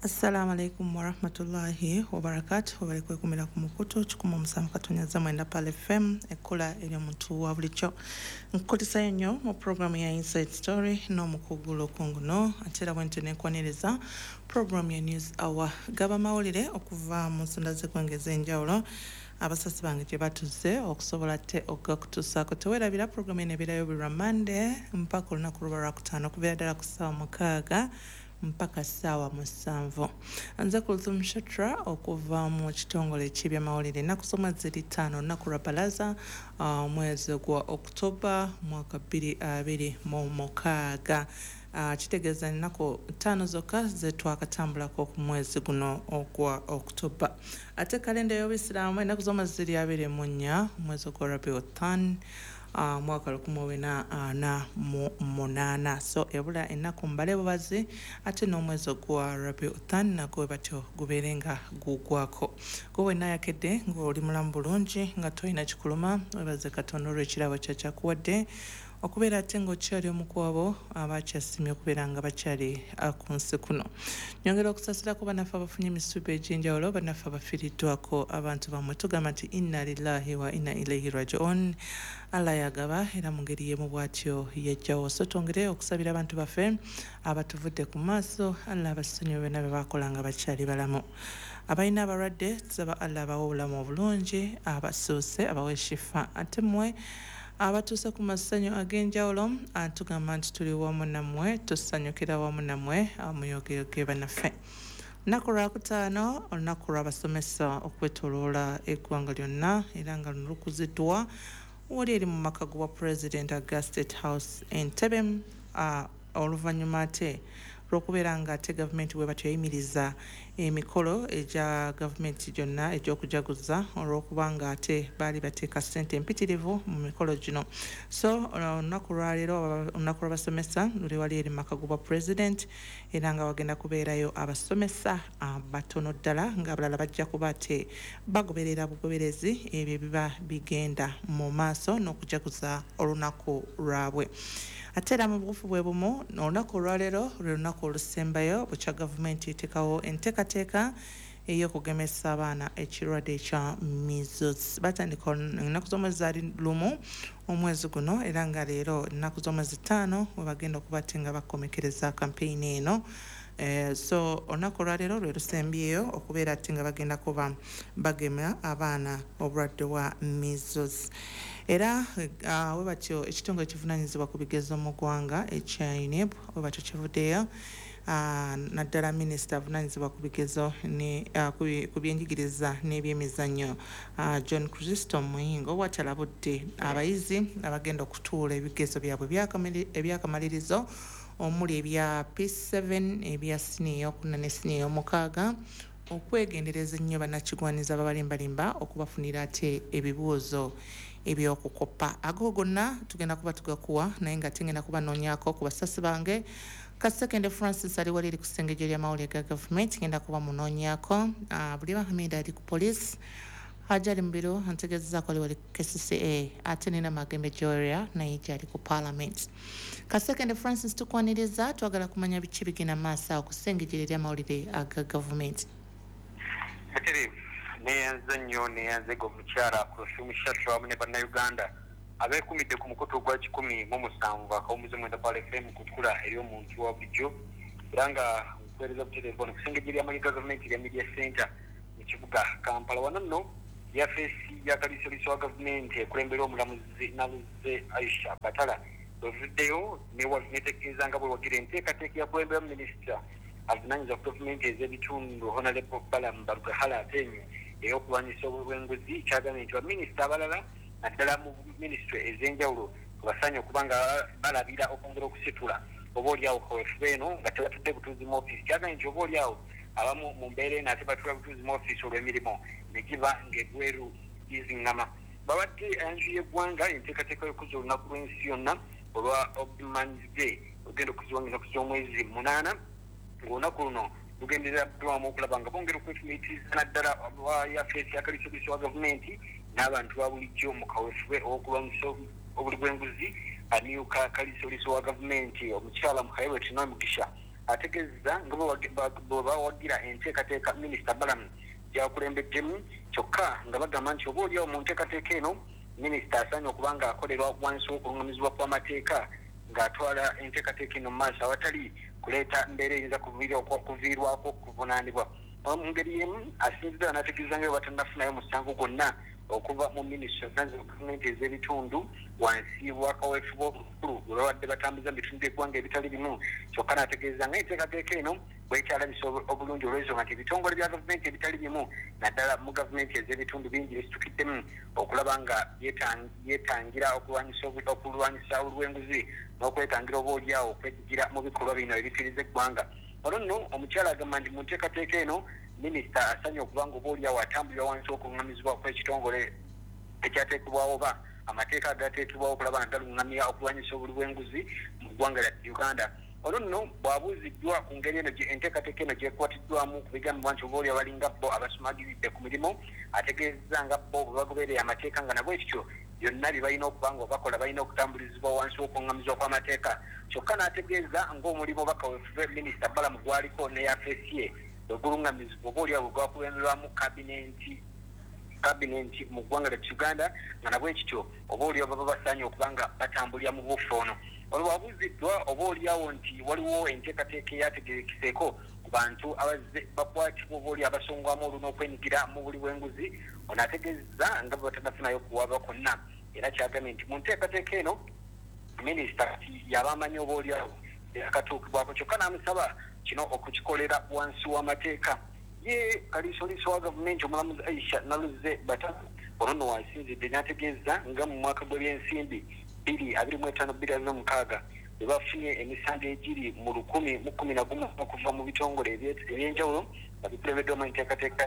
Assalamu alaikum warahmatullahi wabarakatuh. Webale kwekumira ku mukutu 107.9 Pal FM, ekkola ery'omuntu wa bulijjo. Nkukulisayo nnyo mu programu ya Inside Story n'omukugu Lukunguno, ate era bwentyo nenkwaniriza programu ya News Hour. Gaba mawulire okuva mu nsonda z'eggwanga ez'enjawulo abasasi bange gye batuze okusobola ate okugakutuusaako. Teweerabira programu eno ebeerayo buli lwa Monday mpaka olunaku luba lwakutaano okubeera ddala ku ssaawa 6 mpaka ssaawa 7. Nze Kulthum Shatra okuva mu kitongole eky'ebyamawulire. Ennaku z'omwezi ziri 5, olunaku lwa Balaza, omwezi gwa October mwaka 2026. Kitegeeza ennaku 5 zokka ze twakatambulako ku mwezi guno ogwa October. Ate kalenda y'Obuyisiraamu ennaku z'omwezi ziri 24 omwezi ogwa Rabiul Thani, mwaka 1448. So ebula ennaku mbale bubazi ate n'omwezi ogwa Rabiul Thani nagwo bwe batyo gubeere nga gugwako. Gwe wenna ayakedde ng'oli mulamu bulungi nga tolina kikuluma, webaze Katonda olw'ekirabo kyakyakuwadde okubeera ate ng'okyali omu ku abo abakyasimye okubeera nga bakyali ku nsi kuno. Nyongera okusaasirako bannaffe abafunye emisubi egy'enjawulo, bannaffe abafiiriddwako abantu bammwe. Tugamba nti inna lillahi wa inna ilaihi rajiun. Allah yagaba era mu ngeri y'emu bw'atyo yajjawo. So twongere okusabira abantu baffe abatuvudde ku maaso, Allah abasonyiwe byonna bye baakola nga bakyali balamu. Abalina abalwadde tusaba Allah abawe obulamu obulungi, abasuuse abawe shifa. Ate mmwe abatuuse ku masanyu ag'enjawulo tugamba nti tuli wamu nammwe, tusanyukira wamu nammwe, muyogeyoge bannaffe. Lunaku lwakutaano, olunaku lw'abasomesa okwetoloola eggwanga lyonna, era nga luno lukuziddwa wali eri mu maka gwa President aga State House Entebbe, oluvannyuma ate lw'okubeera nga ate gavumenti bwe batyo yayimiriza emikolo egya gavumenti gyonna egy'okujaguza olw'okuba nga ate baali bateeka ssente empitirivu mu mikolo gino. So olunaku lwaleero, olunaku lw'abasomesa luli wali eri mu maka gwa President, era nga wagenda kubeerayo abasomesa batono ddala, ng'abalala bajja kuba ate bagoberera bugoberezi ebyo ebiba bigenda mu maaso n'okujaguza olunaku lwabwe. Ate era mu bugufu bwe bumu, olunaku olwaleero lwe lunaku olusembayo bukya gavumenti eteekawo enteekateeka ey'okugemesa abaana ekirwadde ekya measles. Batandika ennaku z'omwezi zaali 1 omwezi guno, era nga leero ennaku z'omwezi 5 we bagenda okuba ate nga bakomekereza kampeyini eno. So olunaku olwaleero lwe lusembyeyo okubeera ate nga bagenda kuba bagema abaana obulwadde bwa measles. Era we batyo ekitongole ekivunaanyizibwa ku bigezo mu ggwanga ekya UNEB we batyo kivuddeyo, naddala minisita avunaanyizibwa ku bigezo ku byenjigiriza n'ebyemizannyo, John Chrysostom Muyingo, bw'ati alabudde abayizi abagenda okutuula ebigezo byabwe ebyakamalirizo omuli ebya P7, ebya siniya ey'okuna ne siniya ey'omukaaga, okwegendereza ennyo bannakigwanyiza ababalimbalimba okubafunira ate ebibuuzo eby'okukoppa. Ago gonna tugenda kuba tugakuwa, naye nga tugenda kubanoonyaako ku basasi bange. Kasekende Francis ali wali eri ku ssengejjo ly'amawulire ga gavumenti, ngenda kuba munoonyaako. Buliba Hamid ali ku poliisi, Hajali Mubiru antegeezezaako ali wali ku KCCA, ate nina Magembe Joria naye gyali ku Parliament. Kasekende Francis tukwaniriza, twagala kumanya biki bigenda maaso awo ku ssengejjo ly'amawulire aga gavumenti. Butereevu neeyanza nnyo, neeyanzega omukyala Kulthum Shatra wamu ne Bannayuganda abeekumidde ku mukutu ogwa 107.9 Pal FM ku kkula ery'omuntu wa bulijjo, era nga nkuweereza butereevu wano ku ssengejjo ly'amawulire ga gavumenti erya Media Center mu kibuga Kampala. Wano nno yafeesi ya kaliisoliiso wa gavumenti ekulembera omulamuzi Naluzze Aisha Batala bwevuddeyo netegeeza nga bwewagira enteekateeka eyakulemberamu minisita avunaanyizibwa ku gavumenti ez'ebitundu Honorable Balaam Barugahara Ateenyi ey'okulwanyisa obw'enguzi. Kyagambye nti baminisita abalala naddala mu minisitule ez'enjawulo basaanye okuba nga balabira okwongera okusitula oba oliawo kaweefube eno nga tebatudde butuuzi mu ofiisi. Kyagambye nti oba oliawo abamu mu mbeera eno ate batuula butuuzi mu ofiisi olw'emirimu ne giba ng'ebweru giziŋŋama. Babadde enju y'eggwanga enteekateeka y'okuza olunaku lw'ensi yonna olwa Old Man's Day olugenda okuzibwa ng'ennaku z'omwezi 8, ng'olunaku luno lugendereddwamu okulaba nga bongera okwefumiitiriza naddala yafeesi ya kaliisoliiso wa gavumenti n'abantu ba bulijjo mu kaweefube ow'okulwanyisa obuli bw'enguzi. Amyuka kaliisoliiso wa gavumenti omukyala Muhairwe Tinomugisha Ategeeza nga bwe bawagira enteekateeka Minisita Balaam gy'akulembeddemu, kyokka nga bagamba nti oba oliawo mu nteekateeka eno minisita asaanye okuba nga akolerwa wansi w'okulungamizibwa kw'amateeka ng'atwala enteekateeka eno mu maaso awatali kuleeta mbeera eyinza kuviirwako okuvunaanibwa. Mu ngeri y'emu asinziddwa n'ategeeza nga bwe batannafunayo musango gwonna okuva mu minisitule zonna za gavumenti ez'ebitundu wansi wa kaweefube omukulu gwe babadde batambuza mu bitundu by'eggwanga ebitali bimu, kyokka n'ategeeza nga enteekateeka eno bwekyalabisa obulungi olw'ensonga nti ebitongole bya gavumenti ebitali bimu naddala mu gavumenti ez'ebitundu bingi bisitukiddemu okulaba nga yeetangira okulwanyisa olw'enguzi n'okwetangira oba oliawo okwejjigira mu bikolwa bino ebikiriza eggwanga. Olwo nno omukyala agamba nti mu nteekateeka eno minisita asaanye okuba nga oba oliawo atambulira wansi w'okulungamizibwa kw'ekitongole ekyateekebwawo oba amateeka agateekebwawo okulaba nga galungamya okulwanyisa obuli bw'enguzi mu ggwanga lya Uganda. Olwo nno bw'abuuziddwa ku ngeri eno enteekateeka eno gyekwatiddwamu ku bigambibwa nti oba oli abalinga bo abasumagiridde ku mirimu, ategeezezza nga bo bwe bagoberera amateeka nga nabwe kityo byonna bye balina okuba nga bakola balina okutambulizibwa wansi w'okulungamizibwa kw'amateeka, kyokka n'ategeeza ng'omulimu oba kaweefube Minisita Balaam gwaliko ne yafeesi ye bwe gulungamizibwa oba oliawo bwe gwakulemberwamu kabinenti mu ggwanga lya Uganda nga nabwe kityo oba oliawo baba basaanye okuba nga batambulira mu bufu ono. Olwo bwabuuziddwa oba oliawo nti waliwo enteekateeka eyategeekeseeko ku bantu abazze bakwatibwa oba oli abasongwamu olwo n'okwenyigira mu buli bw'enguzi, ono ategeezezza nga bwe batannafunayo kuwaba kwonna, era kyagambye nti mu nteekateeka eno minisita yaba amanyi oba oliawo akatuukibwako, kyokka n'amusaba kino okukikolera wansi w'amateeka. Ye kaliisoliiso wa gavumenti omulamuzi Aisha Naluzze Bata ono nno wasinzidde n'ategeeza nga mu mwaka gw'ebyensimbi 2025-2026 bwe bafunye emisango egiri mu 1,011 okuva mu bitongole ebyenjawulo nga bikulembeddwamu enteekateeka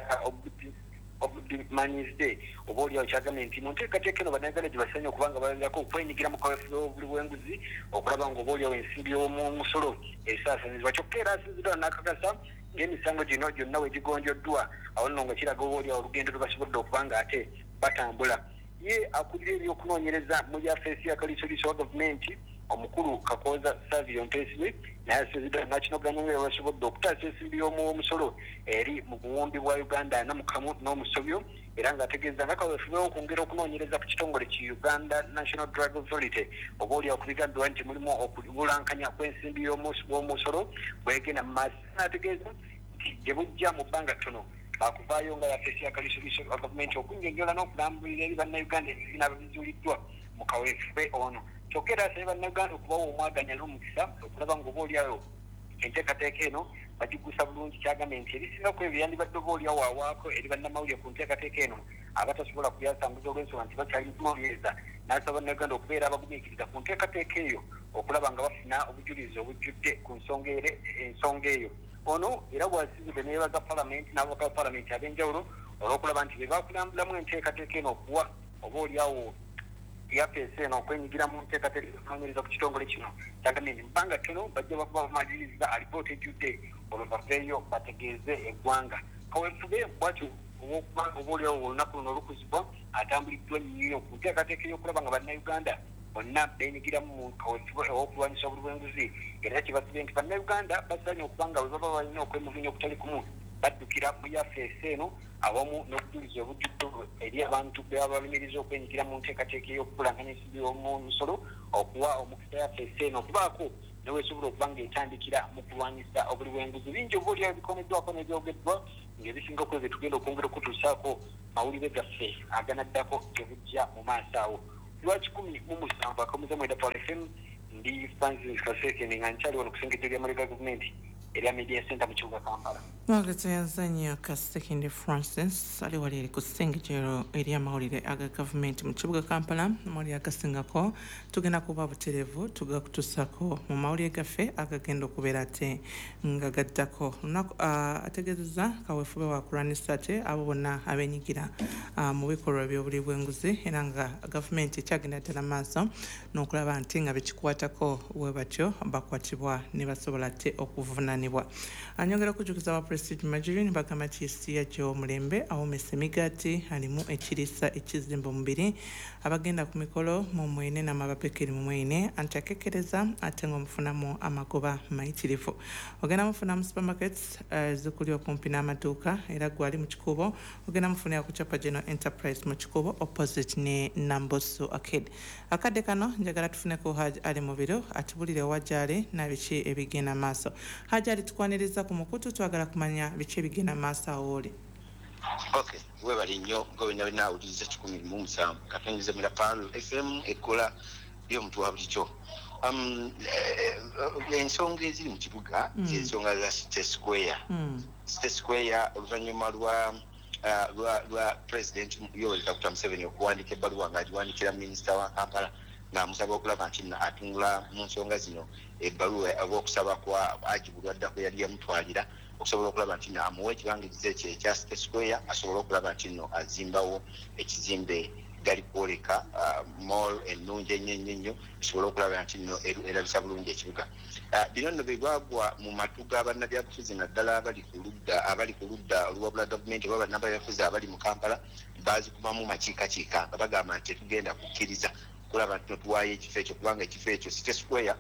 obumanyizde oba oliawo kyagambye nti mu nteekateeka eno bannayuganda gye basaanye okuba nga balabirako okwenyigira mu kaweefube w'obuli bw'enguzi okulaba nga oba oliawo ensimbi y'omumusolo esaasaanyizibwa, kyokka era asinziddwa n'akakasa ng'emisango gino gyonna we gigonjoddwa awo nno nga kiraga oba oliawo olugendo lwe basobodde okuba nga ate batambula. Ye akulira ebyokunoonyereza mu yafeesi ya kaliisoliiso wa gavumenti omukulu Kakooza Savio Mpesibe naye asinziddwa n'akinoganya nga basobodde okutaasa ensimbi y'omuwomusolo eri mu buwumbi bwa Uganda 41 n'omusobyo, era ng'ategeeza nga kaweefube okwongera okunoonyereza ku kitongole ki Uganda National Drug Authority oba oliawo ku bigambibwa nti mulimu okubulankanya kw'ensimbi y'omusolo bwegenda mu maaso, n'ategeeza nti gye bujja mu bbanga ttono bakuvaayo nga yafeesi ya kaliisoliiso wa gavumenti okunnyonnyola n'okulambulira eri bannayuganda ebibiina ababizuuliddwa mu kaweefube ono. Kyokka era asabye bannayuganda okubawa omwaganya n'omukisa okulaba ng'oba oliawo enteekateeka eno bagigusa bulungi, kyagambye nti ebisinga ku ebyo yandibadde oba oliawo awaako eri bannamawulire ku nteekateeka eno abatasobola kubyasambuza olw'ensonga nti bakyali kunoonyereza, n'asaba bannayuganda okubeera abagumiikiriza ku nteekateeka eyo okulaba nga bafuna obujulizi obujjudde ku nsonga eyo. Ono era bw'asinzidde neyeebaza palamenti n'ababaka ba palamenti ab'enjawulo olw'okulaba nti be bakulambulamu enteekateeka eno okuwa oba oliawo yafeesi eno okwenyigira mu nteekateeka okunoonyereza ku kitongole kino, kyagambye nti mu bbanga ttono bajja bakuba bamaliriza alipoota ejjudde olwo baveeyo bategeeze eggwanga. Kaweefube bw'atyo ow'okuba oba oliawo olunaku luno olukuzibwa atambuliddwa nnyo ku nteekateeka ey'okulaba nga bannayuganda bonna beenyigiramu mu kaweefube ow'okulwanyisa obuli bw'enguzi, era kibasibye nti bannayuganda basaanye okuba nga bwe baba balina okwemulugunya okutali kumu baddukira mu yafeesi eno awamu n'obujulizi obujjudde eri abantu be baba balumiriza okwenyigira mu nteekateeka ey'okubulankanya ensimbi y'omusolo okuwa omukisa yafeesi eno okubaako ne weesobola okuba ng'etandikira mu kulwanyisa obuli bw'enguzi. Bingi oba oliawo bikoneddwako n'ebyogeddwa ng'ebisinga ku ebyo tugenda okwongera okutuusaako mawulire gaffe aganaddako gye bujja mu maaso awo. Lwa 107.9 Power FM, ndi Francis Kasekende nga nkyali wano ku ssengejjo ly'amawulire ga gavumenti erya Media Center mu kibuga Kampala. Mwagaza Kasekende Francis ali wali eri ku ssengejjero ery'amawulire aga gavumenti mu kibuga Kampala. Amawulire agasingako tugenda kuba butereevu tugakutuusaako mu mawulire gaffe agagenda okubeera ate nga gaddako. Lunaku ategeezezza kaweefube wa kulwanyisa ate abo bonna abeenyigira mu bikolwa eby'obuli bw'enguzi, era nga gavumenti ekyagenda ddala maaso n'okulaba nti nga bekikwatako bwe batyo bakwatibwa ne basobola ate okuvunaanibwa. okufunibwa. Anyongera okujjukiza aba Prestige Margarine bagamba nti yesiya gy'omulembe awomesa emigaati alimu ekiriisa ekizimba omubiri. Abagenda ku mikolo mumwene n'amabapekeri mumwene anti akekkereza ate ng'omufunamu amagoba mayitirivu. Ogenda mufuna mu supermarkets zikuli okumpi n'amaduuka era gwali mu Kikuubo ogenda mufunira ku Chapa General Enterprise mu Kikuubo opposite ne Nambosu Arcade. Akadde kano njagala tufuneko Hajj Ali Mubiru atubulire wa gy'ali na biki ebigenda maaso. Hajj Ali, tukwaniriza ku mukutu, twagala kumanya biki ebigenda maaso awo oli. Okay, webale nnyo gwe byonna awuliriza 107 katonyeze mu Pearl FM ekkola y'omuntu wa bulijjo. Ensonga eziri mu kibuga zensonga za City Square. City Square oluvannyuma lwa President Yoweri Kaguta Museveni okuwandiika ebbaluwa ng'agiwandiikira minisita wa Kampala ng'amusaba okulaba nti nno atunula mu nsonga zino, ebbaluwa oba okusaba kwa Haji Bulwadda kwe yali yamutwalira okusobola okulaba nti nno amuwa ekibangirizi ekyo ekya City Square asobole okulaba nti nno azimbawo ekizimbe gali kwoleka mall ennungi ennyo ennyo ennyo esobole okulaba nti nno erabisa bulungi ekibuga. Bino nno bwe bwagwa mu matu g'abannabyabufuzi naddala abali ku ludda oluwabula gavumenti oba bannabyabufuzi abali mu Kampala baazikubamu makiikakiika nga bagamba nti tetugenda kukkiriza kulaba nti tuwaayo ekifo ekyo kubanga ekifo ekyo City Square,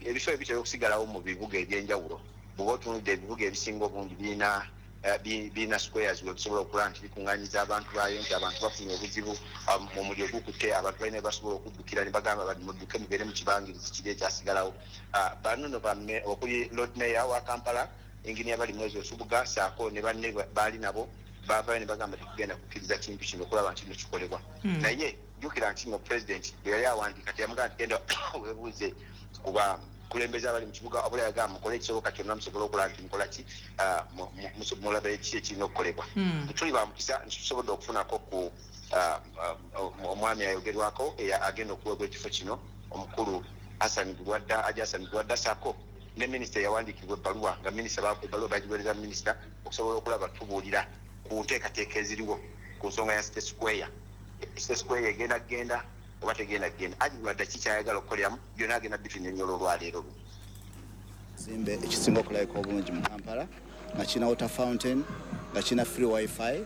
ebifo ebitera okusigalawo mu bibuga ebyenjawulo, bw'oba otunudde ebibuga ebisinga obungi birina squares we bisobola okulaba nti bikuŋŋanyiza abantu baayo nti abantu bafunye obuzibu, omuliro gukutte, abantu balina basobola okuddukira ne bagamba bati mudduke mugende mu kibangirizi kiri ekyasigalawo. Bano no okuli Lord Mayor wa Kampala, Engineer Balimwezo Nsubuga, saako ne banne baali nabo baavayo ne bagamba tetugenda kukkiriza kintu kino okulaba nti no kikolebwa. Naye jjukira nti no President bwe yali awandiika teyamugamba nti genda weebuuze kuba kulembeza abali mu kibuga, wabula yagamba mukole ekisoboka kyonna musobole okulaba nti mukola ki, mulabe kiki ekirina okukolebwa. Tuli ba mukisa nti tusobodde okufunako ku omwami ayogerwako agenda okuweebwa ekifo kino, omukulu Hassan Bulwadda, Haji Hassan Bulwadda, saako ne minisita eyawandiikibwa ebbaluwa nga minisita ebbaluwa bagiweereza minisita okusobola okulaba tubuulira ku nteekateeka eziriwo ku nsonga ya City Square. City Square egenda kugenda oba tegenda kugenda? Haji Bulwadda kikyayagala okukoleramu byonna agenda bitunyonnyola olwaleero luno. Ekizimbe ekisinga okulabika obulungi mu Kampala nga kirina water fountain, nga kirina free wifi,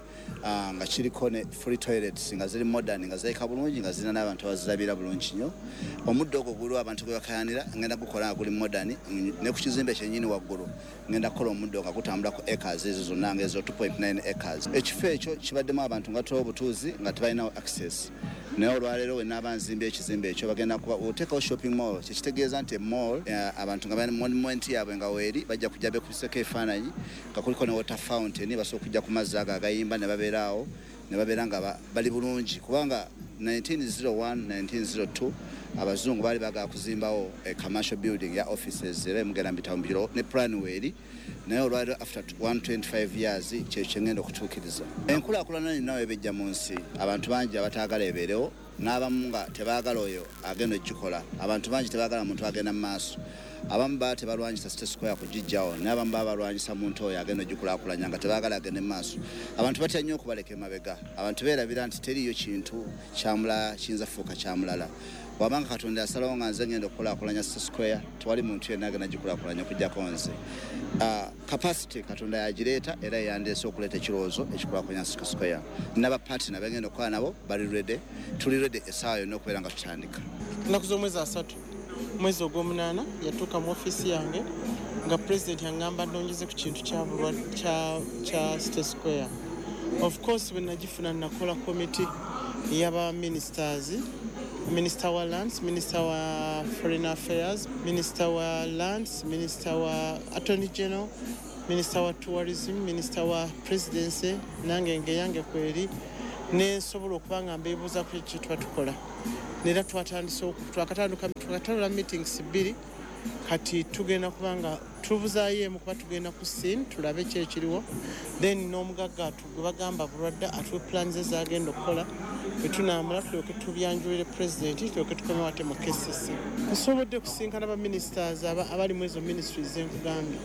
nga kiriko ne free toilets nga ziri modern, nga zirabika bulungi, nga zirina n'abantu abazirabira bulungi nnyo. Omuddo ogwo guliwo abantu gwe bakayanira ngenda gukola nga guli modern ne ku kizimbe kyennyini waggulu ngenda kukola omuddo nga gutambula ku acres ezo zonna nga ezo 2.9 acres. Ekifo ekyo kibaddemu abantu nga tuwa obutuuzi nga tebalinawo access, naye olwaleero we naaba nzimba ekizimbe ekyo bagenda kuba oteekawo shopping mall, kyekitegeeza nti mall abantu nga balina monument yaabwe nga weeri bajja kujja bekubiseko ebifaananyi nga kuliko ne water fountain, basobola okujja ku mazzi ago agayimba ne babeera awo ne babeera nga bali bulungi kubanga 1901 1902 abazungu baali bagala kuzimbawo a commercial building ya offices era emugenda mbitawo mbiro ne plan weeri, naye olwaliro after 125 years kyekyo kyengenda okutuukiriza. Enkulaakulana yonna webejja mu nsi, abantu bangi abataagala ebeerewo n'abamu nga tebaagala oyo agenda okugikola. Abantu bangi tebaagala muntu agenda mu maaso. Abamu baba tebalwanyisa City Square kugijjawo, naye abamu baba balwanyisa muntu oyo agenda ogikulaakulanya nga tebaagala agende mu maaso. Abantu batya nnyo okubaleka emabega. Abantu beerabira nti teriiyo kintu kyamulala kiyinza kufuuka kyamulala. Wabanga Katonda yasalawo nga nze ngenda okukulaakulanya City Square, tewali muntu yenna agenda gikulaakulanya okuggyako nze. Capacity Katonda yagireeta era yandeese okuleeta ekirowoozo ekikulaakulanya City Square. N'abapartner begenda okukola nabo bali ready, tuli ready essaawa yonna okubeera nga tutandika. Ennaku z'omwezi 30 mwezi ogw'omunaana yatuuka mu ofiisi yange nga Pulezidenti aŋŋamba nnongeze ku kintu kya City Square. Of course bwe nagifuna nakola komiti ey'aba ministers, minister wa lands, minister wa foreign affairs, minister wa lands, minister wa attorney general, minister wa tourism, minister wa presidency, nange ngeyange kweri nensobola okuba nga mbeebuuza ku kye tuba tukola. Nera twatandise twakatandika twakatandula meetings bbiri, kati tugenda kuba nga tubuzaayo emu kuba tugenda ku scene tulabe ki ekiriwo, then n'omugagga gwe bagamba Bulwadda atuwe plans ezagenda okukola, bwe tunaamala tulyoke tubyanjulire Pulezidenti, tulyoke tukomewo ate mu KCC. Nsobodde kusinkana ba ministers abali mu ezo ministries zenkugambye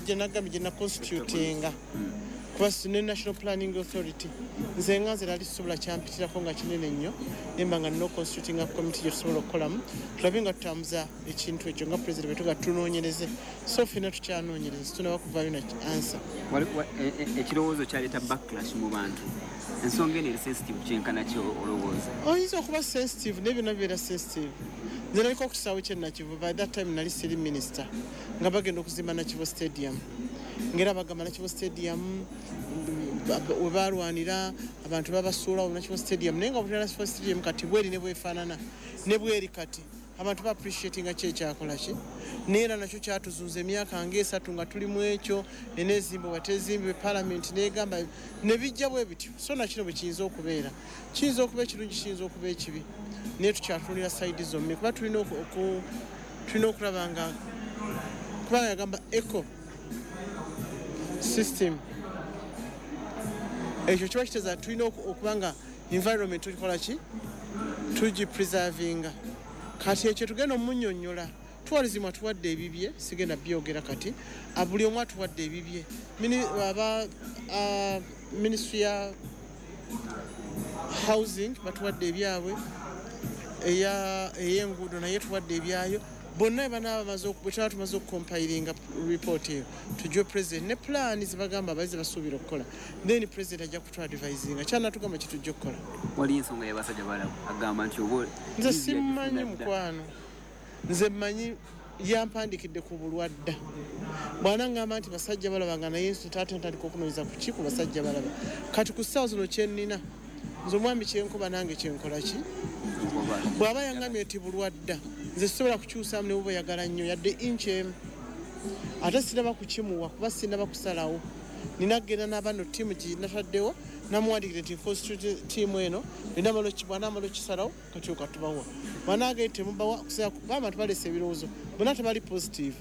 gye nagambye gye naconstitutinga. Kuba ne National Planning Authority, nze nga nze nali sisobola kyampitirako nga kinene nnyo, nemba nga nina constituting committee gye tusobola okukolamu, tulabe nga tutambuza ekintu ekyo nga president bwe tuga tunoonyereze. So ffenna tukyanoonyereza, tunaba kuvaayo na answer. Ekirowoozo kyaleeta backlash mu bantu. Ensonga eno eri sensitive kyenkana ki olowooza? Oyinza okuba sensitive, naye byonna bibeera sensitive. Nze naliko ku kisaawe ky'e Nakivubo, by that time nali siri minister, nga bagenda okuzimba Nakivubo Stadium. Ngera bagamba Nakivubo Stadium we balwanira abantu babasuulawo Nakivubo Stadium, naye nga butera Nakivubo Stadium kati bweri ne bwefaanana ne bweri kati abantu ba appreciatinga ki ekyakola ki, naye era nakyo kyatuzunza emyaka ng'esatu nga tuli mu ekyo, eneezimbibwa tezimbibwe, parliament n'egamba ne bijja bwe bityo. So nakino bwe kiyinza okubeera, kiyinza okuba ekirungi, kiyinza okuba ekibi, naye tukyatunuulira side zombi, kuba tulina okulaba nga kubanga yagamba eco system, ekyo kiba kitegeeza tulina okuba nga environment tukikola ki, tugipreservinga. Kati ekyo tugenda omunnyonnyola. Tourism atuwadde ebibye, sigenda byogera kati, buli omu atuwadde ebibye. Aba ministry ya housing batuwadde ebyabwe, ey'enguudo naye tuwadde ebyayo. Bonna banaaba bamaze bwe tuba tumaze okucompilinga report eyo, tugiwe president ne plan zebagamba abayizi basuubira okukola, then president ajja kutuadvisinga kyanatugamba kitujja okukola. Waliyo ensonga y'abasajja balaba agamba nti oba nze simumanyi mukwano, nze mmanyi yampandikidde ku bulwadda. Bw'anangamba nti basajja balaba nga naye taata ntandika okunoonyeza ku ki ku basajja balaba. Kati ku ssaawa zino kye nnina nze omwami kyenkoba nange kyenkola ki, bw'aba yangambye nti bulwadda, nze sisobola kukyusaamu ne bw'oba oyagala nnyo yadde inch emu, ate sinaba kukimuwa kuba sinaba kusalawo. Nina kugenda n'abano ttiimu gye nataddewo, namuwandiikire nti constitute ttiimu eno, bw'anaamala okukisalawo kati okatubawa, bw'anaagenda temubawa kuba abantu baleese ebirowoozo bonna tebali positive.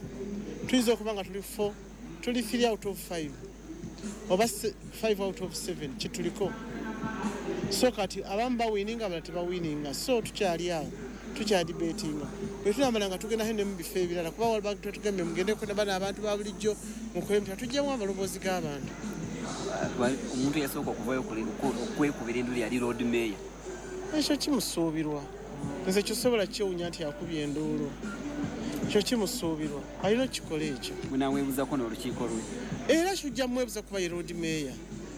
Tuyinza okuba nga tuli 4, tuli 3 out of 5 oba 5 out of 7 kituliko. So kati abamu bawininga, abalala tebawininga, so tukyali awo tukyadibetinga. Bwe tunamala nga tugenda ne mu bifo ebirala, kuba tugambye mugendeko bano abantu ba bulijjo mukole mutya, tuggyemu amaloboozi g'abantu. Omuntu yasooka okuvayo okwekubira endulu yali Lord Mayor. Ekyo kimusuubirwa, nze kisobola kyewunya nti akubye enduulu, ekyo kimusuubirwa, alina okukikola ekyo. Munaamwebuuzako n'olukiiko lwe? Era kijja mwebuuza kuba ye Lord Mayor,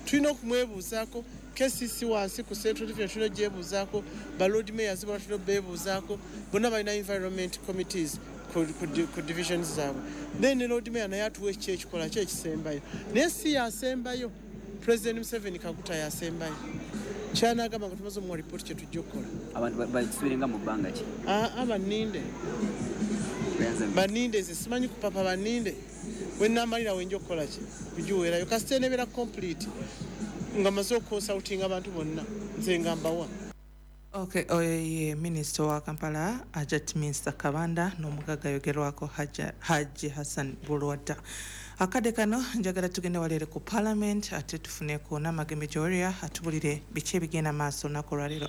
tulina okumwebuuzaako. KCC wansi ku Central Division tulina ogyebuuzaako, ba Lord Mayors bonna tulina obeebuuzaako, bonna balina environment committees ku divisions zaabwe. Then Lord Mayor naye atuwa eki ekikola ki ekisembayo, naye si yasembayo. President Museveni Kaguta yasembayo, kyanagamba nga tumaze omuwa report kye tujja okukola. Abantu bakisuubirenga mu bbanga ki? Aa, banninde, banninde, nze simanyi kupapa, banninde wenamalira wenja okukola ki kugiweerayo, kasita enebeera complete nga maze okuconsultinga abantu bonna, nze nga mbawa. Okay, oyo ye minisita wa Kampala Hajat Minsa Kabanda n'omugagga ayogerwako Haji Hassan Bulwadda. Akadde kano njagala tugende waleere ku parliament ate tufuneko n'Amagembe Joria atubulire biki ebigenda maaso olunaku olwaleero.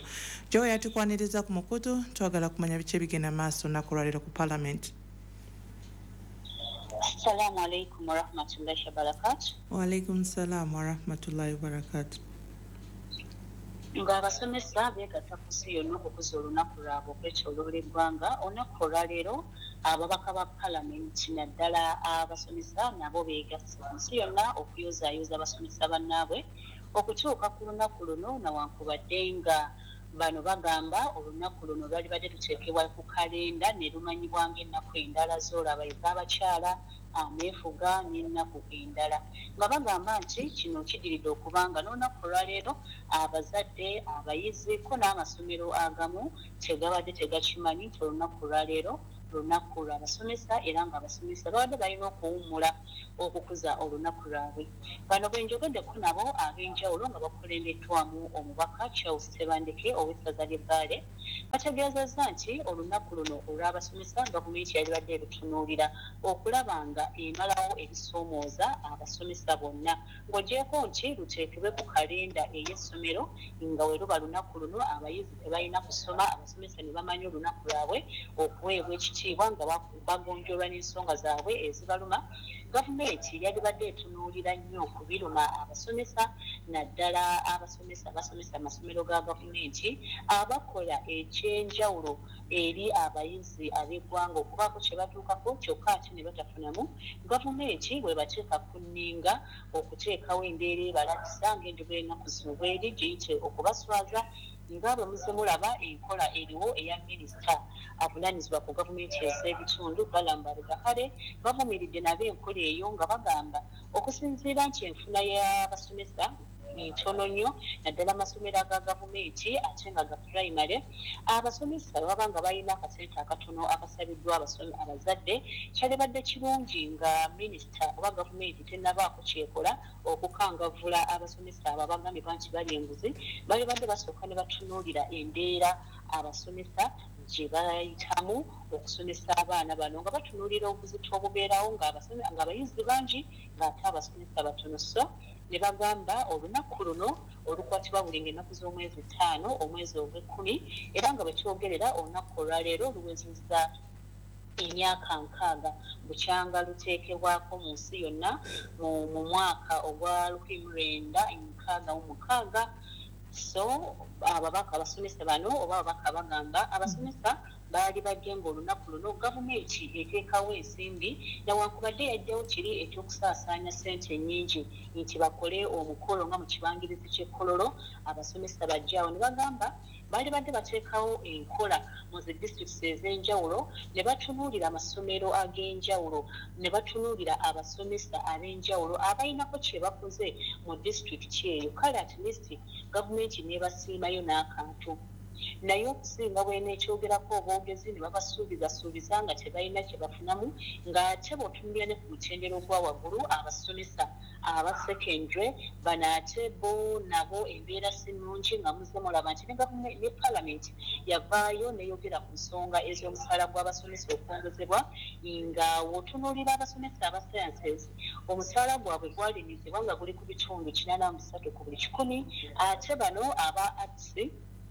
Joria, tukwaniriza ku mukutu, twagala kumanya biki ebigenda maaso olunaku olwaleero ku parliament. Assalamu alaikum warahmatullahi wabarakatu. Waalaikum salam warahmatullahi wabarakatu. Ng'abasomesa beegatta ku nsi yonna okukuza olunaku lwabwe okwetooloola eggwanga, olunaku olwaleero ababaka ba palamenti naddala abasomesa nabo beegasse ku nsi yonna okuyozaayoza abasomesa bannaabwe okutuuka ku lunaku luno, nawankubadde nga bano bagamba olunaku luno lwalibadde luteekebwa ku kalenda ne lumanyibwa ng'ennaku endala z'olaba ez'abakyala, ameefuga n'ennaku endala, nga bagamba nti kino kidiridde okubanga n'olunaku olwaleero abazadde, abayizi ko n'amasomero agamu tegabadde tegakimanyi nti olunaku olwaleero lunaku lw'abasomesa, era ng'abasomesa babadde balina okuwummula okukuza olunaku lwabwe. Bano bwe njogeddeko nabo ab'enjawulo nga bakulembeddwamu omubaka Charles Tebandeke ow'essaza ly'e Bbaale, bategeezezza nti olunaku luno olw'abasomesa gavumenti yalibadde erutunuulira okulaba nga emalawo ebisoomooza abasomesa bonna, ng'ogyeko nti luteekebwe ku kalenda ey'essomero, nga we luba lunaku luno abayizi tebalina kusoma, abasomesa ne bamanya olunaku lwabwe okuweebwa ekitiibwa. ekitiibwa nga bagonjolwa n'ensonga zaabwe ezibaluma. Gavumenti yalibadde etunuulira nnyo ku biruma abasomesa, naddala abasomesa abasomesa amasomero ga gavumenti abakola ekyenjawulo eri abayizi ab'eggwanga okubaako kye batuukako kyokka ate ne batafunamu. Gavumenti bwe bateeka ku nninga okuteekawo embeera ebalabisa ng'enjogo y'ennaku zino bweri giyite okubaswaza, nga bwe muzze mulaba enkola eriwo eya minisita avunaanyizibwa ku gavumenti ez'ebitundu Balaam Barugahare. Bavumiridde nabo enkola eyo nga bagamba okusinziira nti enfuna y'abasomesa ntono nnyo, naddala amasomero aga gavumenti ate nga ga pulayimale. Abasomesa baba nga balina akasente akatono akasabiddwa abazadde, kyalibadde kirungi nga minisita oba gavumenti tennabaako kyekola okukangavvula abasomesa abo abagambibwa nti bali enguzi, balibadde basooka ne batunuulira embeera abasomesa gye bayitamu okusomesa abaana bano, nga batunuulira obuzito obubeerawo ng'abayizi bangi ng'ate abasomesa batono. So ne bagamba olunaku luno olukwatibwa buli ng'ennaku z'omwezi 5 omwezi ogw'ekkumi, era nga bwe kyogerera olunaku olwaleero luwezezza emyaka 60 bukyanga luteekebwako mu nsi yonna mu mwaka ogwa 1966. So ababaka abasomesa bano oba ababaka bagamba abasomesa baali bajje ng'olunaku luno gavumenti eteekawo ensimbi, newankubadde yajjawo kiri ekyokusaasaanya ssente ennyingi nti bakole omukolo nga mu kibangirizi ky'e Kololo abasomesa bajjaawo. Ne bagamba baali badde bateekawo enkola mu zi disitulikiti ez'enjawulo ne batunuulira amasomero ag'enjawulo ne batunuulira abasomesa ab'enjawulo abalinako kye bakoze mu disitulikiti eyo, kale at least gavumenti n'ebasiimayo n'akantu. Naye okusinga bw'eneekyogerako obwogezi ne babasuubizasuubiza nga tebalina kye bafunamu, ng'ate bw'otunuulira ne ku mutendera ogwa waggulu abasomesa aba secondary bano ate bo nabo embeera si nnungi, nga muzze mulaba nti ne gavumenti ne palamenti yavaayo n'eyogera ku nsonga ez'omusaala gw'abasomesa okwongezebwa, nga w'otunuulira abasomesa aba sciences omusaala gwabwe gwalimizibwa nga guli ku 83% ku buli 100, ate bano aba arts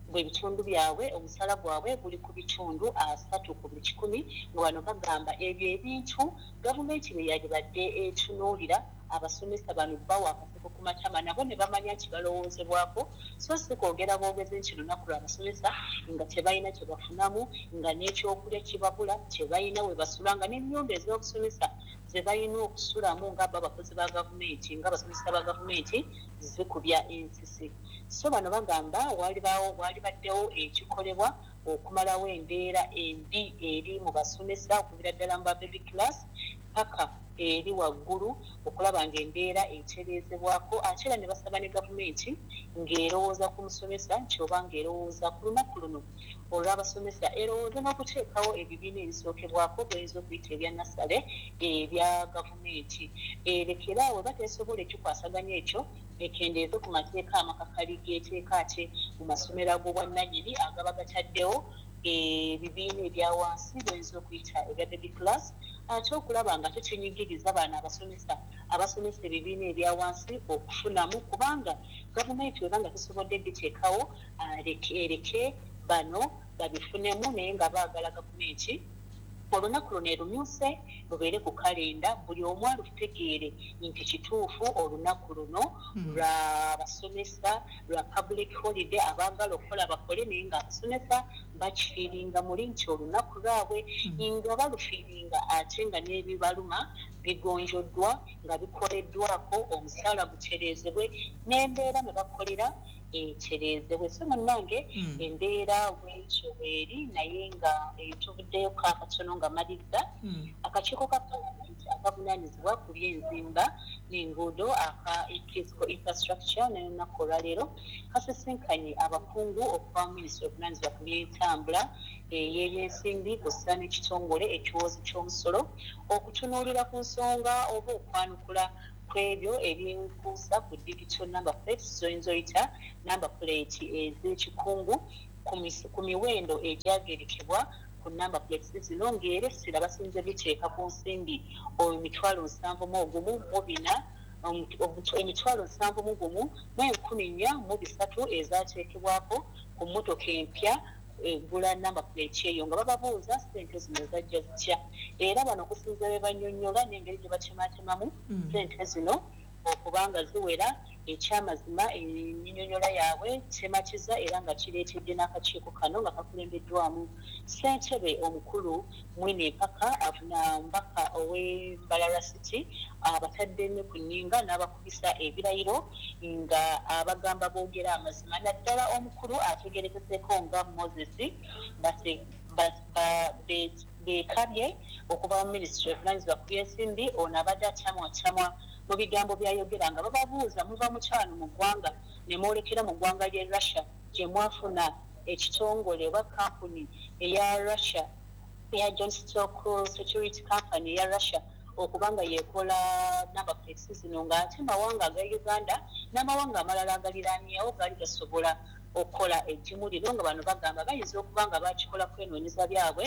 bwe bitundu byabwe omusaala gwabwe guli ku 30% ku buli 100, nga bano bagamba ebyo ebintu gavumenti bwe yalibadde etunuulira abasomesa bano bawa akaseko ku matama nabo ne bamanya nti balowoozebwako, so si kwogera bwogezi nti lunaku lw'abasomesa nga tebalina kye bafunamu, nga n'ekyokulya kibabula, tebalina we basula, nga n'ennyumba ez'obusomesa ze balina okusulamu nga bo abakozi ba gavumenti nga abasomesa ba gavumenti zikubya ensisi. So bano bagamba walibaddewo ekikolebwa okumalawo embeera embi eri mu basomesa okuviira ddala mu ba baby class paka eri waggulu, okulaba ng'embeera etereezebwako. Ate era ne basaba ne gavumenti ng'erowooza ku musomesa nti oba ng'erowooza ku lunaku luno olw'abasomesa, erowooza n'okuteekawo ebibiina ebisookebwako by'oyinza okuyita ebya nursery ebya gavumenti, erekeraawo oba tesobola ekikwasaganya ekyo ekendeeze ku mateeka amakakali g'eteeka ate mu masomero ag'obwannannyini agaba gataddewo ebibiina ebya wansi by'oyinza okuyita ebya baby class, ate okulaba nga tekinyigiriza bano abasomesa abasomesa ebibiina ebya wansi okufunamu, kubanga gavumenti weba nga tesobodde biteekawo ereke bano babifunemu. Naye nga baagala gavumenti olunaku luno erumyuse lubeere ku kalenda, buli omu alutegeere nti kituufu olunaku luno lwa basomesa, lwa public holiday. Abaagala okukola bakole, naye nga abasomesa bakifiiringa muli nti olunaku lwabwe nga balufiiringa, ate nga n'ebibaluma bigonjoddwa nga bikoleddwako, omusaala gutereezebwe n'embeera mwe bakolera etereezebwe. So munnange, embeera bwekyo bweri, naye nga tuvuddeyo akatono nga maliriza. Akakiiko ka palamenti akavunaanyizibwa ku byenzimba n'enguudo aka Physical Infrastructure n'olunaku olwaleero kasisinkanye abakungu okuva mu minisitule obuvunaanyizibwa ku byentambula, ey'ebyensimbi kw'ossa n'ekitongole ekiwoozi ky'omusolo, okutunuulira ku nsonga oba okwanukula ku ebyo ebyenkuusa ku digital number plates, zoyinza oyita number plate ez'ekikungu, ku miwendo egyagerekebwa ku number plates zino, ng'era essira basinze biteeka ku nsimbi 71,400, 71,403 ezateekebwako ku mmotoka empya. Egula number plate eyo nga bababuuza ssente zino zajja zitya. Era bano okusinziira bwe bannyonnyola n'engeri gye batematemamu ssente zino okubanga ziwera, ekyamazima ennyonnyola yaabwe tematiza, era nga kireetedde n'akakiiko kano nga kakulembeddwamu ssentebe omukulu Mwine Mpaka na mubaka ow'e Mbarara City, abatadde nnyo ku nninga n'abakubisa ebirayiro nga abagamba boogere amazima, naddala omukulu ategeerekeseeko nga Moses Bekabye okuva mu minisitule evunaanyizibwa ku by'ensimbi. Ono abadde akyamwakyamwa mu bigambo by'ayogera nga bababuuza, muva mu kyano mu ggwanga ne mwolekera mu ggwanga ly'e Russia gye mwafuna ekitongole oba kkampuni eya Russia eya John Stock Security Company eya Russia okuba nga y'ekola number plates zino, ng'ate mawanga aga Uganda n'amawanga amalala agaliraanyeewo gaali gasobola okukola eddimu lino, nga bano bagamba bayinza okuba nga baakikola kwenoonyeza byabwe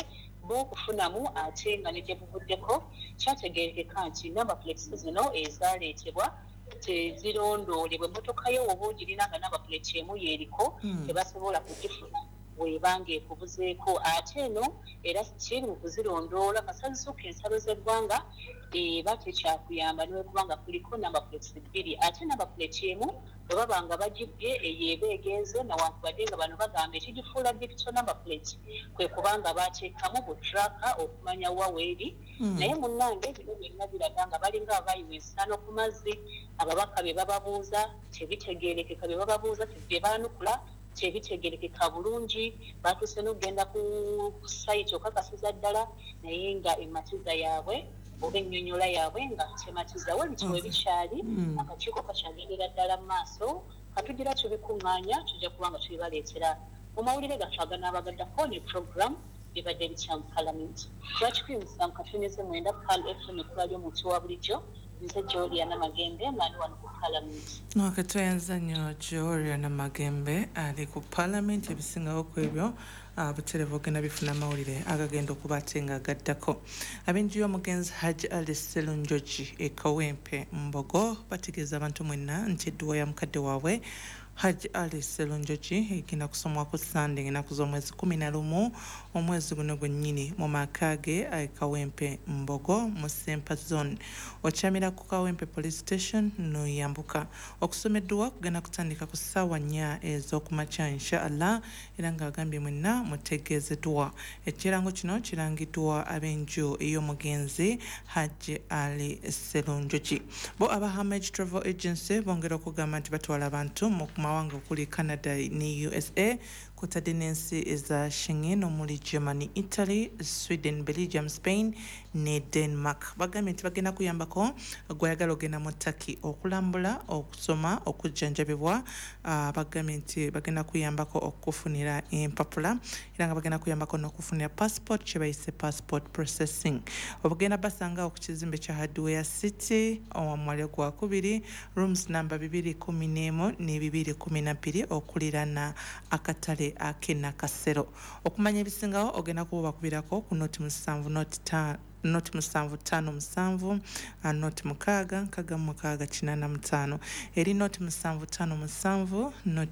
bo okufunamu. Ate nga ne gye buvuddeko kyategeerekeka nti number plates zino ezaaleetebwa tezirondoolebwa, emmotoka yo woba ogirina nga number plate emu y'eriko, tebasobola kugifuna bw'eba ng'ekubuzeeko. Ate eno era kiri mu kuzirondoola, kasita zisukka ensalo z'eggwanga eba tekyakuyamba newekuba nga kuliko number plates bbiri. Ate number plate emu bwe baba nga bagibbye, eyo eba egenze, nawankubadde nga bano bagamba ekigifuula digital number plate kwe kubanga bateekamu bu tracker okumanya wa weeri. Naye munnange, bino byonna biraga nga balinga abayiwa ensaano ku mazzi. Ababaka bye bababuuza tebitegeerekeka, bye bababuuza bye baanukula tebitegeerekeka bulungi. Batuuse n'okugenda ku site okakasiza ddala, naye nga ematiza yaabwe oba ennyonnyola yaabwe nga tematiza. Webityo we bikyali, akakiiko kakyagendera ddala mu maaso. Katugira tubikuŋŋaanya, tujja kuba nga tubibaleetera mu mawulire gaffe aganaabagaddako ne program bibadde bitya mu Palamenti. 107.9 Pearl FM, ekkula ly'omuntu wa bulijjo. Nze Joliana Magembe nga ndi wano ku Palamenti. Ok, tweyanza nnyo Joliana Magembe ali ku Palamenti. Ebisingawo ku ebyo butereevu ogenda bifuna amawulire agagenda okuba ate nga gaddako. Ab'enju y'omugenzi Hajj Ali Serunjogi e Kawempe Mbogo bategeeza abantu mwenna nti edduwa ya mukadde waabwe Hajj Ali Serunjogi egenda kusomwa ku Sande ennaku z'omwezi 11 omwezi guno gwennyini mu maka ge e Kawempe Mbogo mu Sempa Zone. Okyamira ku Kawempe Police Station n'oyambuka. Okusoma edduwa kugenda kutandika ku ssaawa 4 ez'okumakya, inshallah, era ng'agambye mwenna mutegeezeddwa. Ekirango kino kirangiddwa ab'enju ey'omugenzi Hajj Ali Serunjogi. Bo aba Hamage Travel Agency bongera okugamba nti batwala abantu mu mawanga okuli Canada ne USA, kutadde n'ensi eza Schengen omuli Germany, Italy, Sweden, Belgium, Spain ne Denmark. Bagambye nti bagenda kuyambako gwayagala ogenda mu Turkey okulambula, okusoma, okujjanjabibwa. Bagambye nti bagenda kuyambako okufunira empapula, era nga bagenda kuyambako n'okufunira passport, kye bayise passport processing. Obugenda basanga ku kizimbe kya Hardware City, omwaliro gwakubiri, rooms number 211 ne 212, okuliraana akatale ak'e Nakasero. Okumanya ebisingawo ogenda kuba bakubirako ku 07 0 0 757 0 6 66 85, eri 0757 0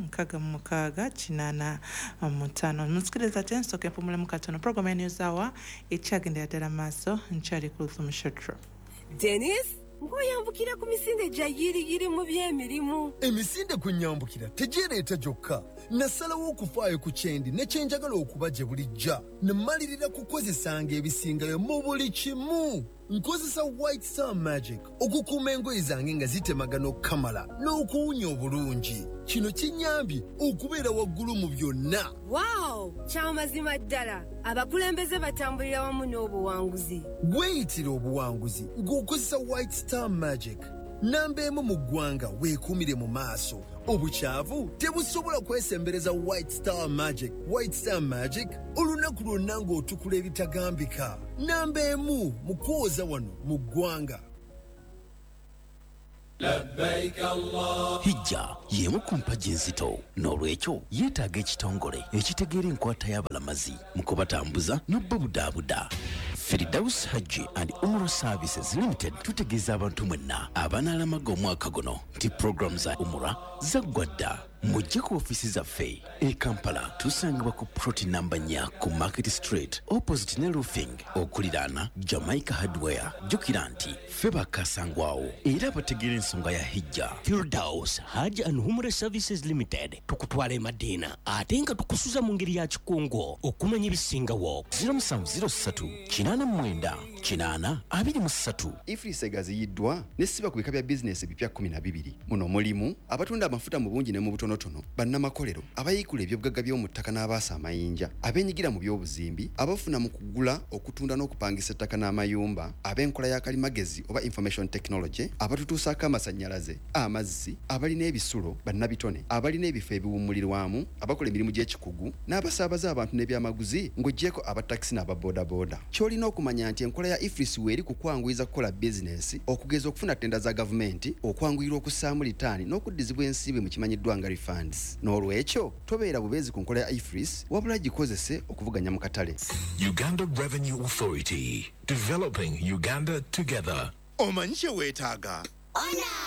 6 66 85. Musikiriza ate nsooka empumulemu katono. Program ya News Hour ekyagendera ddala maaso. Nkyali ku Luthum Shotro. Denis, ng'oyambukira ku misinde gya yiriyiri mu by'emirimu. Emisinde kwe nyambukira tegyereeta gyokka. Nasalawo okufaayo ku kyendi ne kyenjagala okuba gye bulijja, ne mmalirira kukozesanga ebisingayo mu buli kimu. Nkozesa White Star Magic okukuuma engoye zange nga zitemagana okukamala n'okuwunya obulungi. Kino kinnyambye okubeera waggulu mu byonna. Waawo, kyamazima ddala, abakulembeze batambulira wamu n'obuwanguzi. Weeyitira obuwanguzi ng'okozesa White Star Magic. Namba emu mu ggwanga, weekuumire mu maaso. Obukyavu tebusobola kwesembereza White Star Magic. White Star Magic, olunaku lwonna ng'otukula ebitagambika. Namba emu mu kwoza wano mu ggwanga. Hijja y'emu ku mpagi enzito, n'olwekyo yeetaaga ekitongole ekitegeera enkwata y'abalamazi mu kubatambuza n'obubudaabuda. Firdaus Hajji and Umrah Services Limited tutegeeza abantu mwenna abanaalamaga omwaka guno nti puroguramu za Umrah zaggwa dda. Mujje ku ofiisi zaffe e Kampala, tusangibwa ku plot namba 4 ku Market Street, opposite ne Roofing, okuliraana Jamaica Hardware. Jjukira nti ffe bakasangwawo era abategeera ensonga ya hijja. Firdaus Hajj and Umrah Services Limited, tukutwala e Madiina ate nga tukusuza mu ngeri ya kikungu. Okumanya ebisingawo, 0703 89 80 23. EFRIS egaziyiddwa nesiba ku bika bya bizinesi ebipya 12. Muno mulimu abatunda amafuta mu bungi ne mu butonotono, bannamakolero, abayiikula ebyobugagga by'omu ttaka n'abaasa amayinja, abeenyigira mu by'obuzimbi, abafuna mu kugula, okutunda n'okupangisa ettaka n'amayumba, ab'enkola ya kalimagezi oba information technology, abatutuusaako amasannyalaze, amazzi, abalina ebisulo, bannabitone, abalina ebifo ebiwummulirwamu, abakola emirimu gy'ekikugu n'abasaabaza abantu n'ebyamaguzi, ng'oggyeko abatakisi n'ababoodabooda. Ky'olina okumanya nti enkola ya EFRIS weeri ku kwanguyiza kukola bizinesi, okugeza okufuna ttenda za gavumenti, okwanguyirwa okussaamu litaani n'okuddizibwa ensimbi mu kimanyiddwa nga refunds. N'olwekyo tobeera bubeezi ku nkola ya EFRIS, wabula gikozese okuvuganya mu katale. Uganda Revenue Authority. Developing Uganda together. Omanyi kye weetaaga?